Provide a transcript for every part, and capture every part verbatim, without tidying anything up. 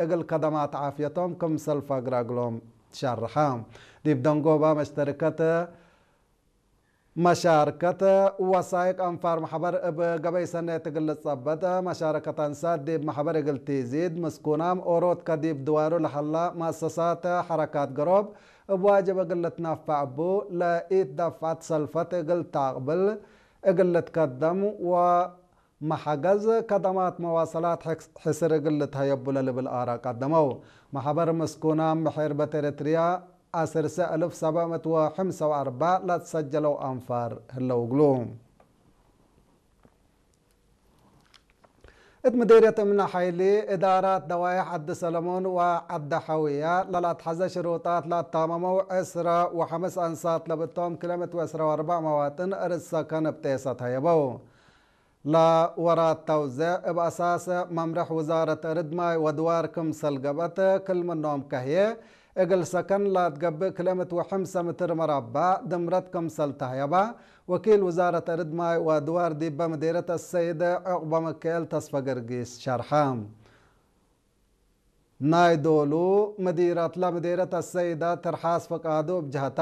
እግል ከደማት ዓፍየቶም ክምሰል ፈግረ እግሎም ትሸርሐ። ዲብ ደንጎባ መሽተርከት መሻርከት ወሳይቅ አንፋር መሕበር እብ ገበይ ሰኔት እግል ልትጸበጥ፣ መሻረከት አንሳት ዲብ መሕበር እግል ቲዚድ፣ ምስኩናም ኦሮት ከዲብ ድዋሩ ለሀላ መአሰሳት ሐረካት ገሮብ እብ ዋጅብ እግል ልትነፈዕ እቡ፣ ለኢት ደፍዐት ሰልፈት እግል ተአቅብል እግል ልትከደም ወመሐገዝ ከደማት መዋሰላት ሕስር እግል ልትሀየቡ ለልብል አራ ቀደመው። መሕበር ምስኩናም ብሕርበት ኤረትርያ፣ ዐስር ሺሕ አልፍ ሰብዕ ምእት ወሐምሳ ወአርበዕ ለትሰጀለው አንፋር ህለው እግሉ። እት ምዴርየት እምነ ሐይሊ፣ እዳራት ደዋይሕ ዐዲ ሰለሞን ወዐዲ ሐውየ ለለአትሐዘ ሽሩጣት ለአታመመው ዕስራ ወሐምስ አንሳት ለብቶም ክልኤ ምእት ወዕስራ ወአርበዕ መዋጥን እርድ ሰከን እብ ጤሰ ተሀየበው። ለወራት ተውዜዕ እብ አሳስ መምርሕ ውዛረት እርድ ማይ ወድዋር ክምሰል ገብአት፣ ክል ምኖም ከህዬ እግል ሰከን ለአትገብእ ክልኤ ምእት ወሐምሳ ምትር መራባዕ ድምረት ክምሰል ተህየባ፣ ወኪል ውዛረት እርድ ማይ ወድዋር ዲበ ምዴርየት አሰይድ ዑቅበ ምክኤል ተስፈ ገርጊስ ሸርሐ። ናይ ዶሉ ምዲረትለ ምዴርየት አሰይደ ትርሓስ ፍቃዱ እብ ጀህታ፣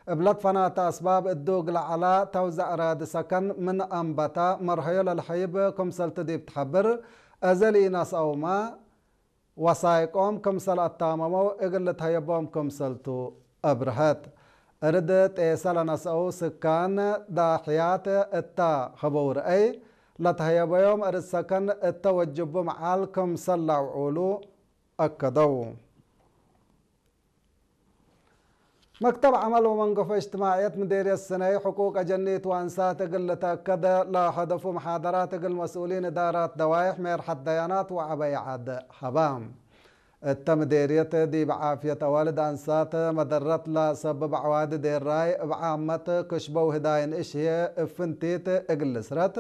እብ ለትፈናተ አስባብ እዱ እግል ዐላ ተውዘዕ ራዲ ሰከን ምን አንበተ መርሀዮ ለልሀይብ ክምሰልቱ ዲብ ትሐብር፣ አዜ ለኢነስአውመ ወሳይቆም ክምሰል አታመመው እግል ልትሀየቦም ክምሰልቱ አብርሀት። እርድ ጤሰ ለነስአው ስካን ዳሕያት እተ ሀበው ረአይ፣ ለተሀየበዮም እርድ ሰከን እተ ወጅቡ መዓል ክምሰል ለአውዑሉ አከደው። መክተብ ዐመል ወመንገፎ እጅትማዕየት ምዴርየት ስነይ፣ ሕቁቅ አጀኒት ወአንሳት እግል ልተአከደ ለሀደፉ መሓደራት እግል መስኡሊን እዳራት ደዋይሕ፣ ሜርሐት ደያናት ወዐበይ ዐድ ሀባ። እተ ምዴርየት ዲብ ዓፍየት አዋልድ አንሳት መደረት ለሰብብ ዐዋዲ ዴራይ እብ ዓመት ክሽበው ህዳይ ንእሽ ህዬ እብ ፍንቲት እግል ልስረት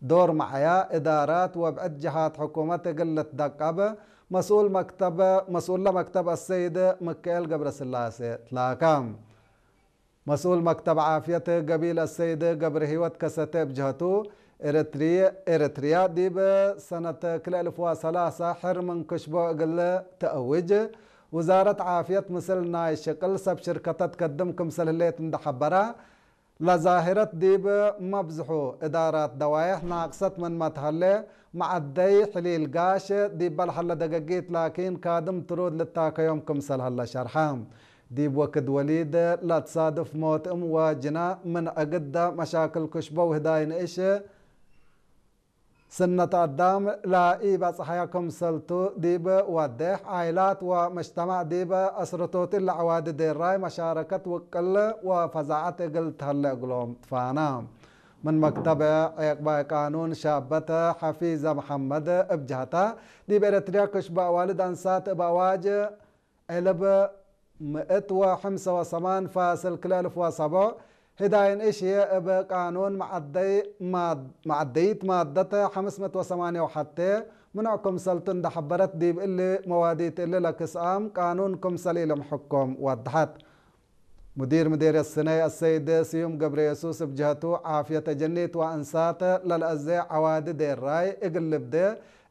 ዶር መዓያ እዳራት ወብዕድ ጀሃት ሕኩመት እግል ልትደቀብ መስኡል መክተብ፣ መስኡለ መክተብ አሰይድ ምክኤል ገብረስላሴ ትላከ። መስኡል መክተብ ዓፍየት ገቢል አሰይድ ገብረህይወት ከሰተ እብ ጀህቱ፣ ኤረትርየ፣ ኤረትርያ ዲብ ሰነት ክልኤ እልፍ ወሰላሳ ሕር ምን ክሽቦ እግል ተአውጅ፣ ውዛረት ዓፍየት ምስል ናይ ሽቅል ሰብ ሽርከተት ከድም ክምሰል ህሌት እንደ ሐበራ፣ ለዛህረት ዲብ መብዝሑ እዳራት ደዋይሕ ናቅሰት ምንመ ተሀሌ፣ መዐደይ ሕሊል ጋሽ ዲበ ለሀለ ደገጊት ላኪን ካድም ትሩድ ልታከዮም ክምሰል ሀለ ሸርሐ። ዲብ ወክድ ወሊድ ለትሳድፍ ሞት እም ወጅና ምን እግደ መሻክል ክሽበው ህዳይ ንእሽ ስነት አዳም ለኢበጽሐያ ክምሰልቱ ዲብ ወዴሕ፣ ዓይላት ወመጅተማዕ ዲብ አስርቶት እለ ዐዋዲ ዴራይ መሻረከት ውቅል ወፈዛዐት እግል ተሀለ እግሎም ትፋና። ምን መክተብ ዔቅባይ ቃኑን ሻበት ሐፊዘ መሐመድ እብ ጀህታ፣ ዲብ ኤረትርያ ክሽበ አዋልድ አንሳት እብ አዋጅ ዕልብ ምእት ወሐምሰ ወሰማን ፋስል ክልኤ እልፍ ወሰቦዕ፣ ህዳይን እሽየ እብ ቃኑን መዐደይ ማድ-፣ መዐደይት ማደት ሐምስ ምእት ወሰማንየ ወሐቴ ምኑዕ ክምሰልቱ እንደ ሐበረት፣ ዲብ እሊ መዋዲት እሊ ለክስአም ቃኑን ክምሰል ኢልምሕኮም ወደሐት። ሙዲር ምዴርየት ስነይ አሰይድ ስዩም ገብረየሱስ እብ ጀህቱ፣ ዓፍየት አጀኒት ወአንሳት ለልአዜ ዐዋዲ ዴራይ እግል ልብዴ፣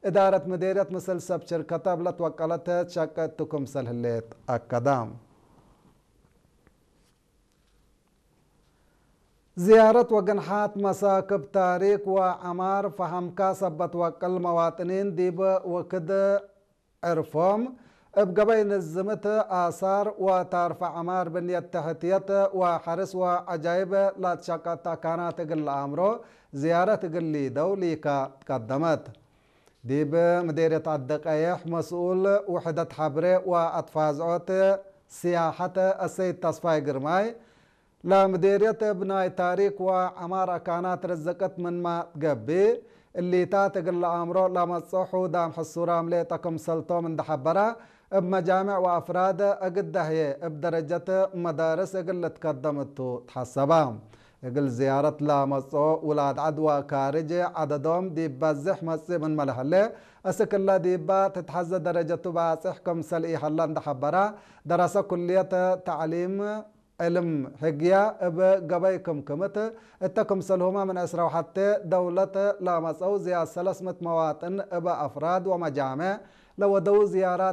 እዳረት ምዴርየት ምስል ሰብ ሽርከተ እብ ለትወቀለት ሸቂ እቱ ክምሰል ህሌት አከደ። ዝያረት ወግንሓት መሳክብ ታሪክ ወዐማር ፈሀምካ ሰበት ወቅል መዋጥኒን ዲብ ወክድ ዕርፎም፣ እብ ገበይ ንዝምት አሳር ወታርፈ ዐማር ብንየት ተሕትየት ወሐርስ ወዐጃይብ ላትሸቀት አካናት እግል ለአምሮ ዝያረት እግል ሊደው ሊካ ትቀደመት። ዲብ ምዴርየት ዐዲ ቀየሕ መስኡል ውሕደት ሐብሬ ወአትፋዝዖት ስያሐት አሰይድ ተስፋይ ግርማይ፣ ለምዴርየት እብ ናይ ታሪክ ወዐማር አካናት ርዝቅት ምንመ ትገብእ፣ እሊታት እግል ለአምሮ ለመጽኦ ሑዳም ሕሱራም ሌጠ ክምሰልቶም እንደ ሐበራ፣ እብ መጃምዕ ወአፍራድ እግድ ደህየ እብ ደረጀት መዳርስ እግል ልትከደም እቱ ተሐሰባ። እግል ዝያረት ለመጽኦ ውላድ ዐድ ወካርጅ ዐደዶም ዲብ በዝሕ መጽእ ምንመ ለሀሌ፣ እስክ እለ ዲባ ትትሐዘ ደረጀቱ ባጽሕ ክምሰል ኢሀለ እንደ ሐበራ፣ ደረሰ ኩልየት ተዕሊም ዕልም ህግያ እብ ገበይ ክምክምት እተ ክምሰልሁመ ምን ዕስራ ወሐቴ ደውለት ለመጸው ዝያድ ሰለስ ምእት መዋጥን እብ አፍራድ ወመጃምዕ ለወደው ዝያራት